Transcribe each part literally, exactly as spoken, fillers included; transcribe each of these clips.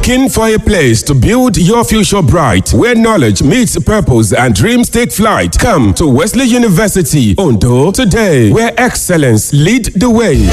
Looking for a place to build your future bright, where knowledge meets purpose and dreams take flight? Come to Wesley University, Ondo, today, where excellence lead the way.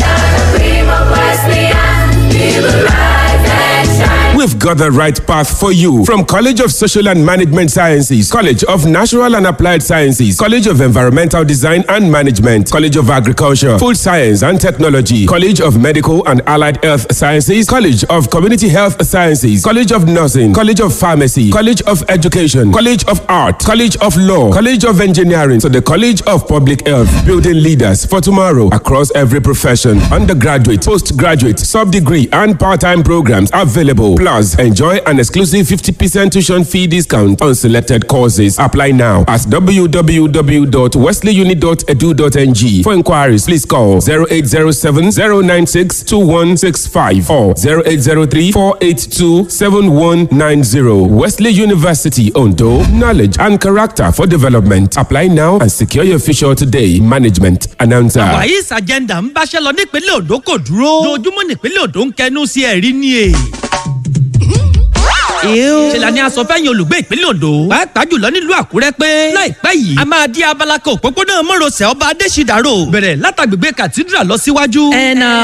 We've got the right path for you from College of Social and Management Sciences, College of Natural and Applied Sciences, College of Environmental Design and Management, College of Agriculture, Food Science and Technology, College of Medical and Allied Health Sciences, College of Community Health Sciences, College of Nursing, College of Pharmacy, College of Education, College of Art, College of Law, College of Engineering, to the College of Public Health, building leaders for tomorrow across every profession. Undergraduate, postgraduate, sub-degree and part-time programs available. Plus, enjoy an exclusive fifty percent tuition fee discount on selected courses. Apply now at w w w dot wesleyuni dot edu dot n g. For inquiries, please call zero eight zero seven zero nine six two one six five or zero eight zero three four eight two seven one nine zero. Wesley University, Ondo. Knowledge and character for development. Apply now and secure your future today. Management announcer. Wàyísà agenda ń báṣẹ́ lọ nípínlẹ̀ Ondo kò dúró. Lójúmọ́ nípínlẹ̀ Ondo ń kẹnu sí ẹ̀rí ni è ṣe la ní aṣọ fẹ́yìn olùgbé ìpínlẹ̀ Ondo, pàápàá jùlọ nílùú Àkúrẹ́, pé láìpẹ́ yìí a máa di abala kan òpópónà mọ́rọ̀sẹ̀ Ọba Adésídàrò, bẹ̀rẹ̀ látàgbègbè Cathedral lọ síwájú.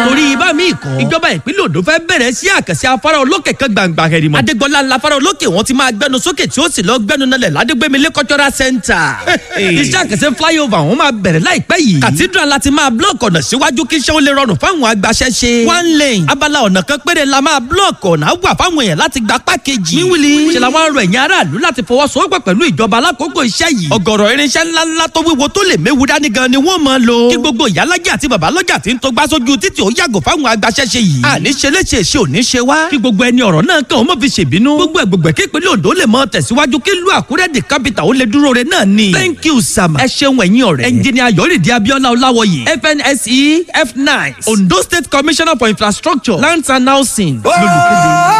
Torí ibà míì kan, ìjọba ìpínlẹ̀ Ondo fẹ́ bẹ̀rẹ̀ sí àkànṣe afárá olókè kan gbàǹgbà hẹ̀rìmọ̀. Adégbọlá ńlá afárá olókè wọn ti máa gbẹnu sókè, tí ó sì lọ gbẹnu nalẹ̀ ládégbémilé Cultural Center. Iṣẹ́ àkànṣe flyover wọn máa bẹ̀rẹ̀ láìpẹ́ yìí. Cathedral láti máa block ọ̀nà síwájú kí iṣẹ́ ó lè rọrùn fáwọn agbaṣẹ́ṣe. One lane, abala ọ̀nà kan péré la máa block, ọ̀nà wà fáwọn èèyàn láti gba pákéjì. Wíwìlì ṣe làwọn arọ ẹ̀yìn aráàlú láti fọwọ́sowọ́pọ̀ pẹ̀lú ìjọba alákòókò iṣẹ́ yìí. Ọ̀gọ̀rọ̀ irinṣẹ́ ńláńlá tó wíwo tó lè méwu dání gan ni wọ́n máa lò. Kí gbogbo ìyálájẹ́ àti babalọ́jà tí ń tó gbá sójú títì ó yàgò fáwọn agbaṣẹ́ṣe yìí. Àní ṣe léṣe ṣe ò ní ṣe wá. Kí gbogbo ẹni ọ̀rọ̀ náà kàn ó mọ̀ fi ṣèbínú. Gbogbo ẹ̀gbọ̀gbẹ̀ kí ìpínlẹ̀ Ondo lè mọ tẹ̀síwájú, kí ìlú Àkúrẹ́ the capital ó lè dúró re náà ni. Thank you, Sama. Ẹ ṣeun ẹ̀yin ọ̀rẹ́. Ẹnjìnìà Yọ̀rìndí Abíọ́lá Ọláwọ̀yè, F N S E F nine, Ondo State Commissioner for Infrastructure, Lands and Housing. Lólùkéde.